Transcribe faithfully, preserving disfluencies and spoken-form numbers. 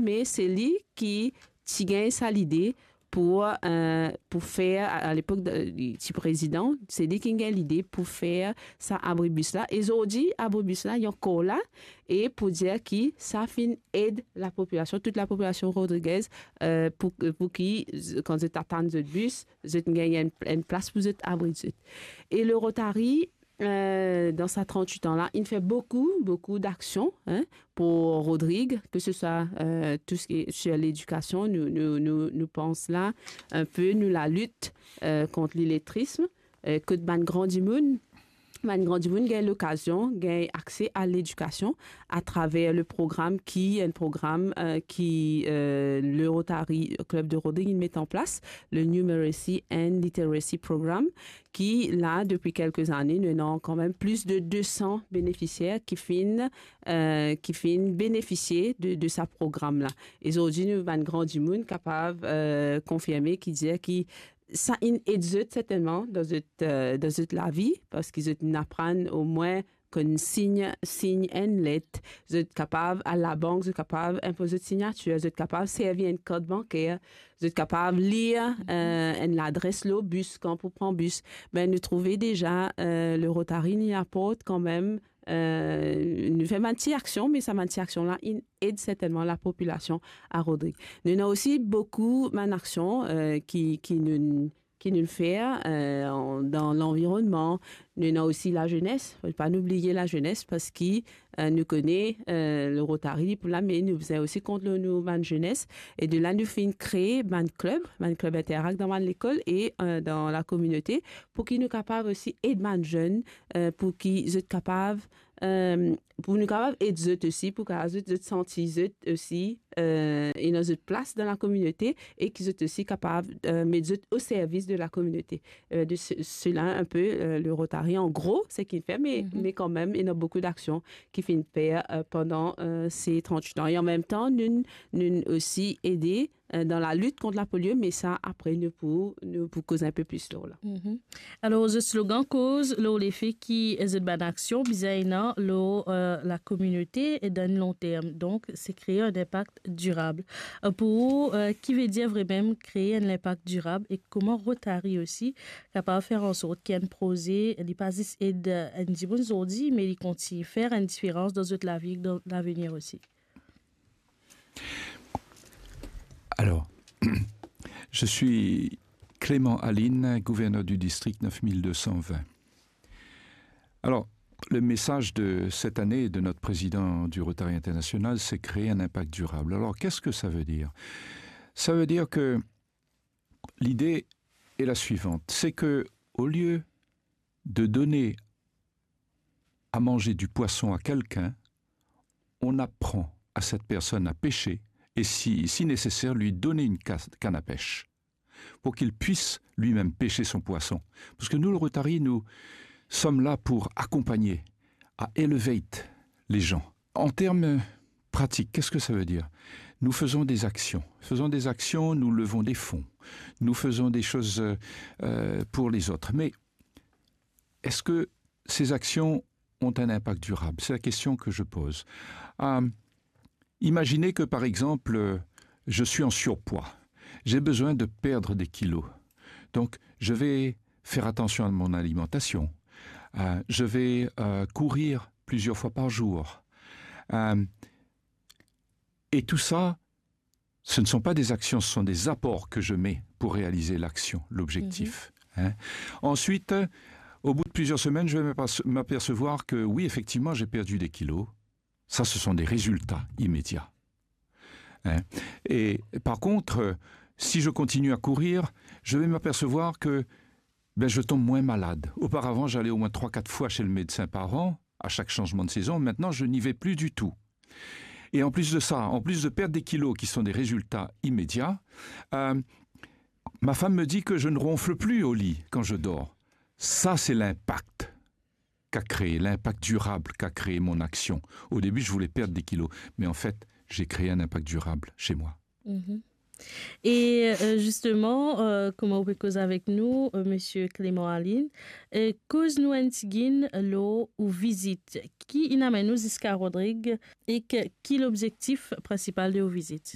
me se li ki ti gagn sa lide pou, eh, pou fer, a, a lepok de, li ti prezidan, se li ki gagn lide pou fer sa abribis la. E zordi, abribis la, li ankor la, e pou dir ki sa finn ed lapopilasion, tout lapopilasion Rodriguez, eh, pou, pou ki, z-, kan zot atann zot bis, zot gagn enn, enn plas pou zot abrit zot. E le Rotary, eh, dan sa trant-wit an la, inn fer boukou, boukou daksion, hein, pou Rodrig, ke se swa, eh, tou seki sir ledikasion, nou, nou, nou, nou pans la, inpe nou lalit, eh, kont liletrism, eh, kot bann gran dimoun, bann gran dimoun gagn lokazion, gagn akse a ledikasion atraver le program ki, enn program, eh, ki, eh, le Rotary Club de Rodrig inn met an plas, le Numeracy and Literacy Program, ki la, depi kelke zane, nou ena kanmem plis de de san benefisier ki finn, eh, ki finn benefisie de, de sa program la. E zordi, nou bann gran dimoun kapav, eh, konfirme ki dir ki sa inn ed zot sertennman dan zot, eh, dan zot lavi, parski zot inn aprann omwin konn sign, sign enn let, zot kapav al labank, zot kapav inpoz zot signatir, zot kapav servi enn kart banker, zot kapav lir, eh, enn ladres lor bis, kan pou pran bis. Be, nou trouve deza, eh, le Rotary, li aport kanmem, eh, nou fer bann ti aksion, me sa bann ti aksion la, inn ed sertennman lapopilasion a Rodrig. Nou ena osi boukou bann aksion, eh, ki, ki nou, ki nou fer, eh, an, dan lanvironnman. Nou ena osi lazenes, fode pa nou bliye lazenes, parski, eh, nou kone, eh, le Rotary, li pou la, me nou bizin osi kont lor nou bann zenes. E de la, nou finn kree bann klib, bann klib Interact dan bann lekol e, eh, dan lakominote, pou ki nou kapav osi ed bann zenn, eh, pou ki zot kapav, eh, pou nou kapav ed zot osi, pou kapav zot, zot santi zot osi, eh, ena zot plas dan lakominote e ki zot osi kapav, eh, met zot o servis de lakominote. Eh, de se, sela inpe, eh, le Rotary, an gro, seki inn fer, me, me kanmem, ena boukou daksion ki finn fer, eh, pandan, eh, se trant-wit an. E an mem tan, nou, nou osi ede, eh, dan lalit kont lapolio, me sa, apre, nou pou, nou pou koz inpe plis lor la. Alor, zot slogan koz lor lefe ki zot bann aksion bizin ena lor, eh, lakominote e dan long term. Donk, se kree enn inpak dirab. Eh, pou ou, eh, ki vedir vremem kree enn inpak dirab e kouma Rotary osi kapav fer ansort ki enn proze, li pa zis ed, eh, enn dimoun zordi, me li kontign fer enn diferans dan zot lavi, dan lavenir osi? Alors, je suis Clément Aline, gouverneur du district neuf mille deux cent vingt. Alors, le message de cette année de notre président du Rotary International, c'est créer un impact durable. Alors, qu'est-ce que ça veut dire ? Ça veut dire que l'idée est la suivante, c'est que au lieu de donner à manger du poisson à quelqu'un, on apprend à cette personne à pêcher et si, si nécessaire, lui donner une ca-, canne à pêche pour qu'il puisse lui-même pêcher son poisson. Parce que nous, le Rotary, nous sommes là pour accompagner, à elevate les gens. En termes pratiques, qu'est-ce que ça veut dire ? Nous faisons des actions. Faisons des actions, nous levons des fonds. Nous faisons des choses, euh, euh, pour les autres. Mais est-ce que ces actions ont un impact durable ? C'est la question que je pose. Euh, imaginez que, par exemple, euh, je suis en surpoids. J'ai besoin de perdre des kilos. Donc, je vais faire attention à mon alimentation. Euh, je vais, euh, courir plusieurs fois par jour. Euh, et tout ça, ce ne sont pas des actions, ce sont des apports que je mets pour réaliser l'action, l'objectif. Hein. Ensuite, au bout de plusieurs semaines, je vais m'aperce-, m'apercevoir que oui, effectivement, j'ai perdu des kilos. Ça, ce sont des résultats immédiats. Hein. Et par contre, euh, si je continue à courir, je vais m'apercevoir que, ben, je tombe moins malade. Auparavant, j'allais au moins trois, quatre fois chez le médecin par an, à chaque changement de saison. Maintenant, je n'y vais plus du tout. Et en plus de ça, en plus de perdre des kilos qui sont des résultats immédiats, euh, ma femme me dit que je ne ronfle plus au lit quand je dors. Ça, c'est l'impact qu'a créé, l'impact durable qu'a créé mon action. Au début, je voulais perdre des kilos, mais en fait, j'ai créé un impact durable chez moi. E, eh, zisteman, eh, kouma ou pe koz avek nou, eh, Misie Clément Aline, eh, koz nou enn tigit lor ou vizit. Ki inn amenn ou ziska Rodrig ek ki lobzektif prinsipal de ou vizit?